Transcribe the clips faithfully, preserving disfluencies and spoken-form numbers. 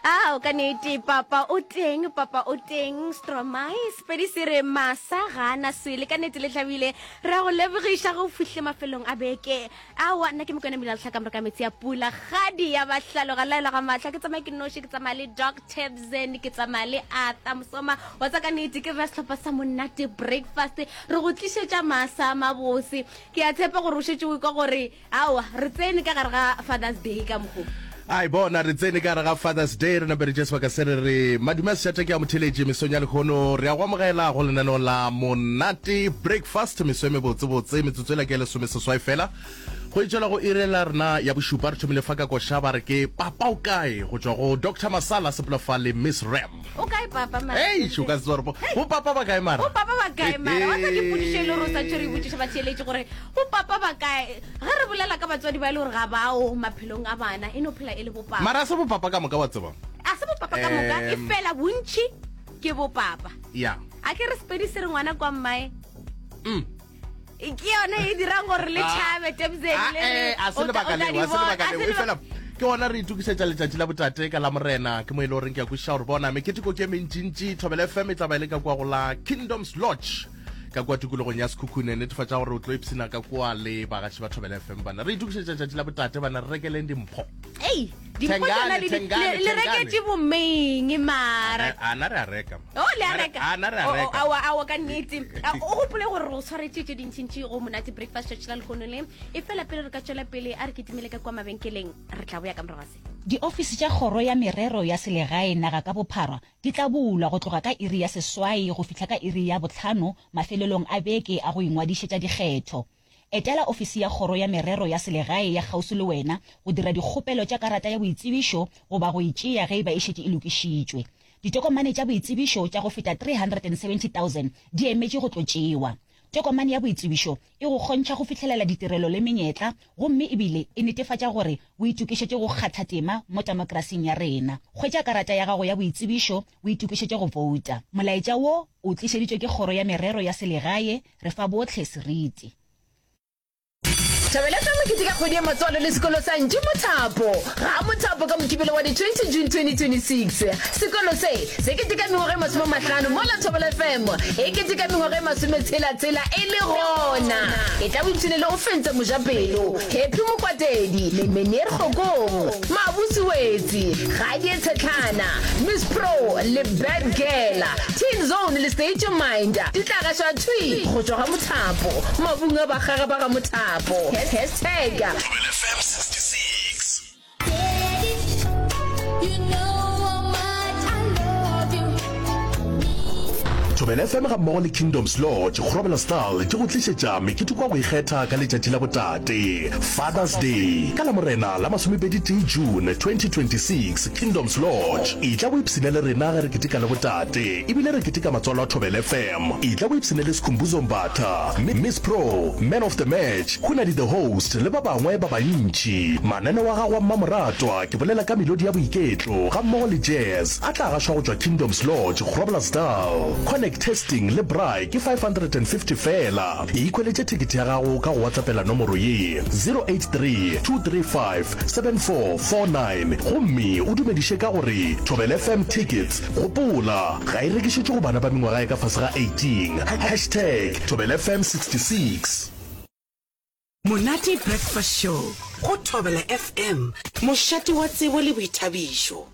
Ao, ka nete, papa o teng, papa o teng. Stromae, Sepedi se re masa ga a na swele. Ka nete le hlabile. Re a go lebogiša ge o fihlile mafelong a beke. Aowa, nna ke Mokwena Mmila Lehlaka Moroka Metsi a Pula, kgadi ya bahlalo ga laelwa ga mahlo. Ke tsamaya ke noši, ke tsamaya le Doc Tebzen, ke tsamaya le Arthur Mosoma. Wa tseba ka nete ke rena sehlopha sa Monate Breakfast. Re go tlišetša masa a mabose. Ke a tshepa gore o šetše o ekwa gore aowa, re tsene ka gare ga Father's Day ka mokgo. Ai bona, re tsene ka gare ga Father's Day, re nape re tšee sebaka se re re madume a sešata ke a motheletši mesong ya lehono. Re a go amogela go lenaneo la Monate Breakfast, meso e mebotsebotse, metsotso ela ke ya lesomeseswai fela go e tšwela go iri la rena ya bošupa. Re thomile fa ka koša ba re ke Papa o kae go tšwa go Doctor Masala sepela fa le Miss Ram. O kae papa mara? Eish, o ka se tsebe gore bo bo papa ba kae mara? Bo papa ba kae mara? Wa tseba ke potšišo e le gore o santše re e botšiša batheeletši gore bo papa ba kae? Ge re bolela ka batswadi ba e le gore ga bao maphelong a bana, e no phela e le bopapa. Mara a se bopapa ka moka wa tseba. A se bopapa ka moka, e Em. fela bontši ke bopapa. Ya. A ke re Sepedi se re ngwana kwa mmae. Mm. Ke yone e dirang gore le Ah. tšhabe Tebzen Ah, le re eh, a se o tla- lebaka o tla leo, di a se bona. lebaka A se leo. E leba- fela ke gona re itokišetša letšatši la botate ka la Morena, ke mo e le goreng ke a kwešiša gore bona meketeko ke e mentšintši. Thobela F M e tla ba e le ka kua go la Kingdoms Lodge ka kua tikologong ya Sekhukhune. Netefatša gore o tlo ipshina ka kua le bagaši ba Thobela F M. Bana re itokišetša letšatši la botate, bana re rekeleng dimpho. Ei, dimpho Thengane, tsona le di- thengane, le- le thengane. reketše bomeng mara. A na re a reka ma. O, le a reka? A na re a O, o, reka. aowa, aowa, ka nnete. A, o gopole gore re tshwaretše tše dintšintši go Monate Breakfast tšatši la lehono le. E fela pele re ka tšwela pele, a re kitimele ka kua mabenkeleng, re tla boya ka morago ga se. Diofisi tša Kgoro ya Merero ya Selegae naga ka bophara di tla bulwa go tloga ka iri ya seswai go fihla ka iri ya bohlano mafelelong a beke a go ingwadišetša dikgetho. Etela ofisi ya Kgoro ya Merero ya Selegae ya kgauswi le wena go dira dikgopelo tša karata ya boitsebišo goba go e tšea ge e ba e šetše e lokišitšwe. Ditokomane tša boitsebišo tša go feta three hundred and seventy thousand di emetše go tlo tšewa. Tokomane ya boitsebišo e go kgontšha go fihlelela ditirelo le menyetla gomme ebile e netefatša gore o itokišetše go kgatha tema mo temokrasing ya rena. Hwetša karata ya gago ya boitsebišo o itokišetše go bouta. Molaetša wo o tlišeditšwe ke Kgoro ya Merero ya Selegae, re fa bohle seriti. Thobela F M e keteka kgwedi ya matswalo le sekolo sa Ntši Mothapo ga Mothapo ka Mokibelo wa di twenty June twenty twenty-six. Sekolo se se keteka mengwaga e masome mahlano mola Thobela F M e keteka mengwaga e masometshela-tshela e le gona. E tla boipshine le Ofentse Mojapelo, Happy Mokwatedi, Meneer Kgokong, Mabusi Wetsi, Gadie Tshetlhana, Miss Pro le Bad Girl, Teen Zone le State Your Mind di tla gašwa thwi go tšwa ga Mothapo, mabung a bakgaga ba ga Mothapo. Hashtag Thobela F M sixty-six. Thobela F M ga mmogo le Kingdoms Lodge, Groblersdal di go tlišetša meketeko wa go ikgetha ka letšatši la botate, Father's Day, ka Lamorena la masomepedi tee June twenty twenty-six, Kingdoms Lodge. Etla o ipshine le rena ge re keteka le botate, ebile re keteka matswalo a Thobela F M. Etla o ipshine le Skhumbuzo Mbatha, Miss Pro, Man of the Match, Hunadi the Host le ba bangwe ba bantši. Mananeo a gago a mmamoratwa, ke bolela ka melodi ya boiketlo ga mmogo le jazz, a tla gašwa go tšwa Kingdoms Lodge, Groblersdal. Connect Testing le braai ke five hundred and fifty fela. Ikhweletše thekethe ya gago ka go WhatsAppela nomoro ye, zero eight three, two three five, seven four four nine gomme o dumediše ka gore Thobela F M tickets. Gopola, ga e rekišetšwe go bana ba mengwaga ya ka fase ga eighteen. Hashtag Thobela F M sixty-six. Monate Breakfast Show go Thobela F M, mošate wa tsebo le boithabišo.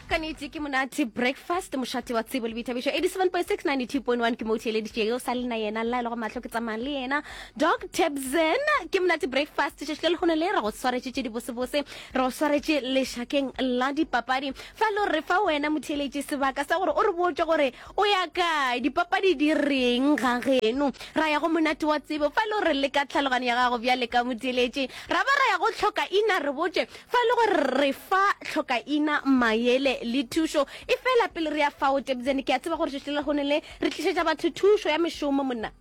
Ka nnete ke Monate Breakfast, mošate wa tsebo le boithabišo. eighty-seven point six, ninety-two point one ke mo o theeleditšego, sa le na yena la e le go mahlo ke tsamaya le yena Doc Tebzen. Ke Monate Breakfast tšatši le lehono le re go swaretše tše dibosebose, re go swaretše lešakeng la dipapadi. Fa le re fa wena motheeletši sebaka sa gore o re botše gore o ya kae, dipapadi di reng ga geno. Ra ya go monate wa tsebo, fa le re leka tlhaloganyo ya gago bjale ka motheeletši, ra ba ra ya go tlhokaina, re botše fa le gore re fa tlhokaina maele le thušo. E fela pele re ya fao Tebzen, ke a tseba gore tšatši le lehono le re tlišetša batho thušo ya mešomo monna.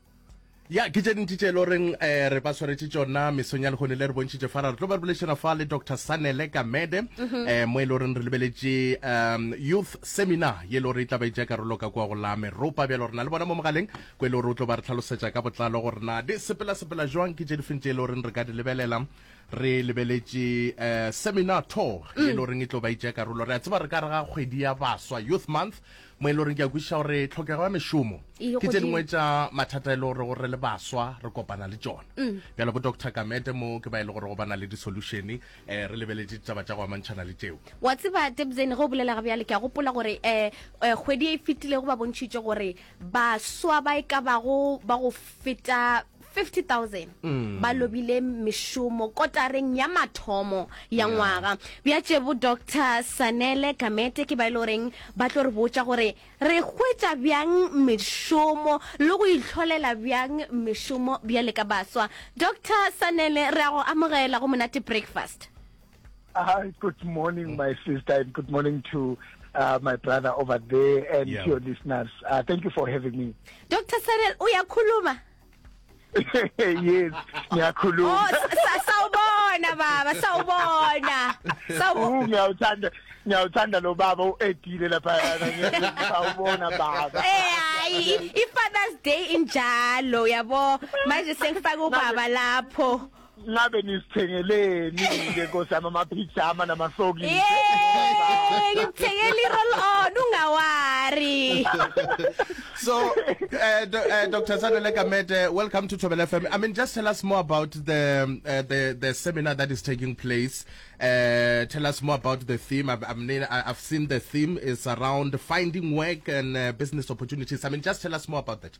Ya, ke tše dintši tše e le goreng eh, re ba swaretše tšona mesong ya lehono le re bontšhitše fa. Ra re tlo ba re boledišana fa le Doctor Sanele Kamede, eh, mo e le goreng re lebeletše um youth seminar ye e le gore e tla ba e tšea karolo ka kua go la Meropa. Bjalo re na le bona mo mogaleng ko e le gore o tlo ba re hlalosetša ka botlalo gore na di sepela sepela jwang, ke tše difeng tše e le goreng re ka di lebelela. Re lebeletše eh, seminar tour e le goreng e tlo ba itšea karolo. Re a tseba re ka re ga kgwedi ya baswa, Youth Month, mo e le goreng ke a kwešiša gore tlhokego ya mešomo E ke tše godimo. dingwe tša mathata e le gore gore le baswa re kopana le tšona. Bjale bo Doctor Gamede mo ke ba e le gore go bana le di-solution, eh, re lebeletše ditaba tša go amantšhana le tšeo. Wa tseba, Tebzene, ge o bolela ga bjale ke a gopola gore um kgwedi e fetilego ba bontšhitše gore baswa ba e ka bago ba go feta fifty thousand ba lobile mešomo kotareng ya mathomo ya ngwaga. Bjatše bo Doctor Sanele Gamete ke ba e le goreng ba tlo re botša gore re hwetša bjang mešomo le go itlholela bjang mešomo bjale ka baswa. Doctor Sanele, re a go amogela go Monate Breakfast. Hi, good morning, my sister, and good morning to uh, my brother over there and Yeah. to your listeners. Uh, thank you for having me. Doctor Sanele, uyakhuluma? Yes, ngiyakhuluma. Oh, sa- sawubona baba, sawubona. Sawu Uh, ngiyawuthanda, ngiyawuthanda lo baba u-edile lapha. Sawubona baba. Eh, hayi, i-Father's Day injalo, yabo. Manje sengifaka ubaba lapho. Ngabe nisithengeleni ke, nkosi yami, amaphijama namasokisi? Yeah, ngikuthengela i-roll on, ungawari. So, uh, do, uh, Doctor Sanele Gamede, welcome to Thobela F M. I mean, just tell us more about the um, uh, the the seminar that is taking place. Uh, tell us more about the theme. I've, I mean, I- I've seen the theme is around finding work and uh, business opportunities. I mean, just tell us more about that.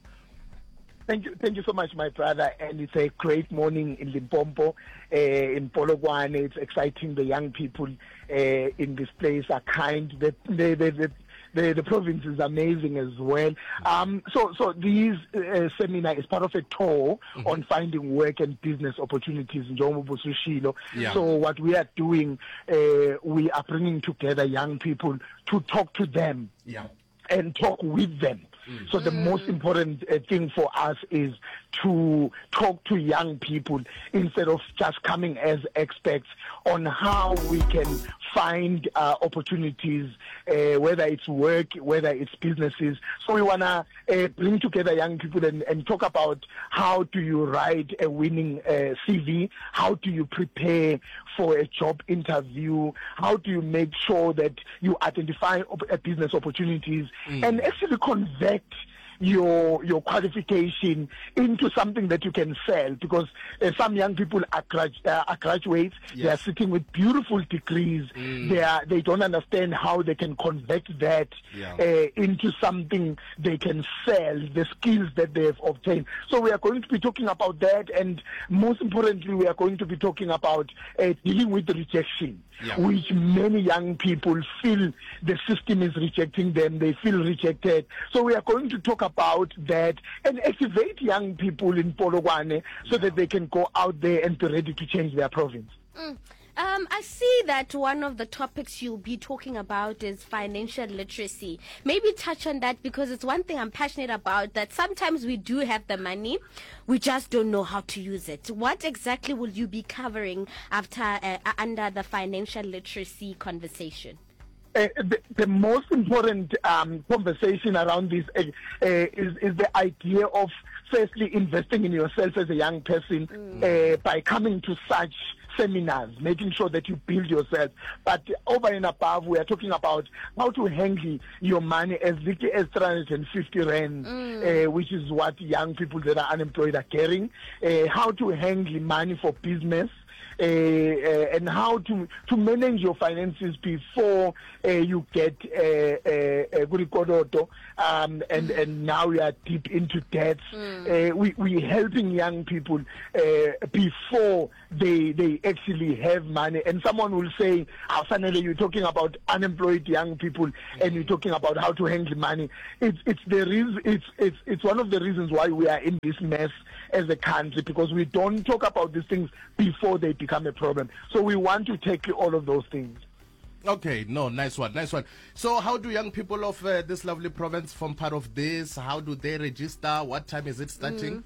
Thank you, thank you so much, my brother. And it's a great morning in Limpopo, uh, in Polokwane. It's exciting. The young people uh, in this place are kind. The, the, the, the, the, the province is amazing as well. Um, so, so this uh, seminar is part of a tour mm-hmm. on finding work and business opportunities in Njengoba. Yeah. So what we are doing, uh, we are bringing together young people to talk to them Yeah. and talk with them. Mm. So the mm. most important uh, thing for us is to talk to young people instead of just coming as experts on how we can find uh, opportunities, uh, whether it's work, whether it's businesses. So we want to uh, bring together young people and, and talk about how do you write a winning uh, C V, how do you prepare for a job interview, how do you make sure that you identify op- uh, business opportunities mm. and actually convert your your qualification into something that you can sell, because uh, some young people are, grad, uh, are graduates. Yes. They are sitting with beautiful degrees mm. they are they don't understand how they can convert that Yeah. uh, into something they can sell, the skills that they have obtained. So we are going to be talking about that, and most importantly, we are going to be talking about uh, dealing with rejection, Yeah. which many young people feel the system is rejecting them. They feel rejected. So we are going to talk about that and activate young people in Polokwane so that they can go out there and be ready to change their province. Mm. Um, I see that one of the topics you'll be talking about is financial literacy. Maybe touch on that, because it's one thing I'm passionate about, that sometimes we do have the money, we just don't know how to use it. What exactly will you be covering after uh, under the financial literacy conversation? Uh, the, the most important um, conversation around this uh, uh, is, is the idea of firstly investing in yourself as a young person mm. uh, by coming to such seminars, making sure that you build yourself. But over and above, we are talking about how to handle your money as little as three hundred fifty rand, mm. uh, which is what young people that are unemployed are carrying, uh, how to handle money for business, uh, uh, and how to to manage your finances before uh, you get uh, uh, uh, um, and and now you are deep into debts. Mm. Uh, we we helping young people uh, before they they actually have money. And someone will say, "Sanele, you're talking about unemployed young people, mm. and you're talking about how to handle money." It's it's the reason it's it's it's one of the reasons why we are in this mess as a country, because we don't talk about these things before they become a problem. So we want to tackle all of those things. Okay, no, nice one, nice one. So, how do young people of uh, this lovely province form part of this? How do they register? What time is it starting?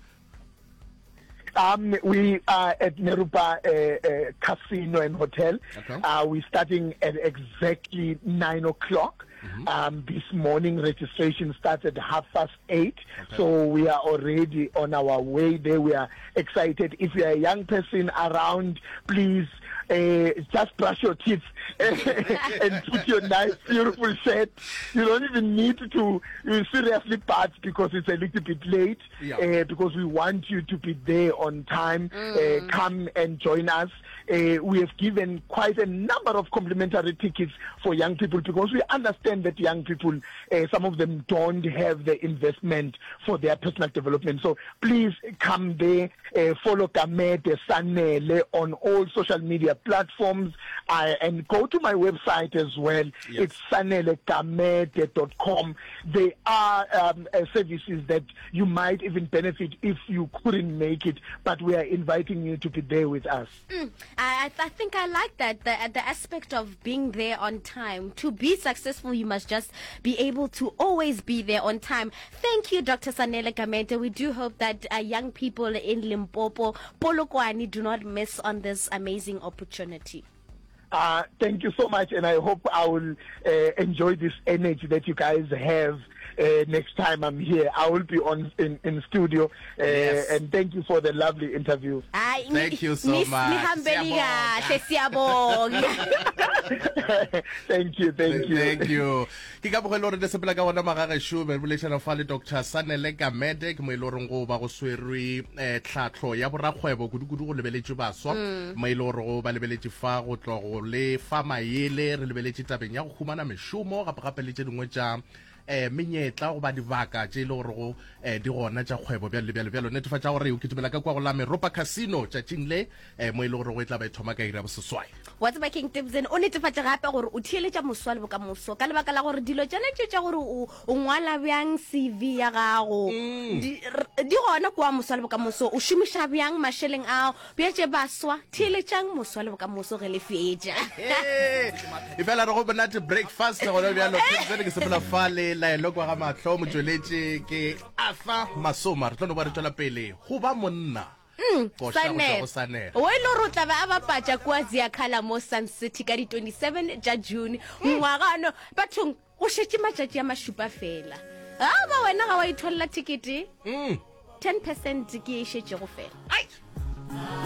Mm. Um, we are at Meropa uh, uh, Casino and Hotel. Okay. Uh, we're starting at exactly nine o'clock. Mm-hmm. Um, this morning, registration starts at half past eight. Okay. So we are already on our way there. We are excited. If you are a young person around, please uh, just brush your teeth and put your nice, beautiful shirt. You don't even need to you seriously bath because it's a little bit late. Yeah. Uh, because we want you to be there on time. Mm. Uh, come and join us. Uh, we have given quite a number of complimentary tickets for young people because we understand that young people, uh, some of them don't have the investment for their personal development. So please come there, uh, follow Gamede Sanele on all social media platforms uh, and go to my website as well. Yes. It's sanele gamede dot com. There are um, uh, services that you might even benefit if you couldn't make it, but we are inviting you to be there with us. Mm, I, I think I like that, the, the aspect of being there on time. To be successful, you must just be able to always be there on time. Thank you, Doctor Sanele Gamede. We do hope that uh, young people in Limpopo, Polokwane, do not miss on this amazing opportunity. Uh, thank you so much, and I hope I will uh, enjoy this energy that you guys have uh, next time I'm here. I will be on in, in studio, uh, yes. and thank you for the lovely interview. Ay, thank you so much. Thank you, thank you. Thank you. Ke ka bogelo re sepela ka bona magagešo be bolešana fa le Doctor Sanele Gamede ke mo ile reng go ba go swerwe eh, tlhatlho ya borakgwebo kudu-kudu go lebeletše baswa mo ile gore go ba lebeletše fa go tlo go le fa maele re lebeletše tabeng ya go humana mešomo gape gape le tše dingwe tša eh menyetla goba dibaka tše e le gore go eh, di gona tša kgwebo bjalo le bjalo bjalo. Netefatša gore o kitimela ka kwa go la Meropa Casino tšatšing le eh, mo e le gore go e tla ba e thoma ka iri ya boseswai. Wa tseba King Tibson o netefatša gape gore o theeletša moswa le bokamoso ka lebaka la gore dilo tšone tše tša gore o ngwala bjang C V ya gago mm. di, di gona kwa moswa le bokamoso, o šomiša bjang mašeleng ao bjatše baswa. Theeletšang moswa le bokamoso ge le fetša. E fela re go monate breakfast gona bjalo Tibson ke sepela fa le laelo kwa ga mahlo motšweletše ke Arthur Masoma. Re tlo no ba re tšwela pele go ba monna Sanele o e le gore o tla ba a bapatša kua Ziakhala mo Sun City ka di twenty-seven tša June ngwaga ano. Bathong go šetše matšatši a mašupa fela. A ba wena ga wa itholela ticket, ten percent ke e šetšego fela.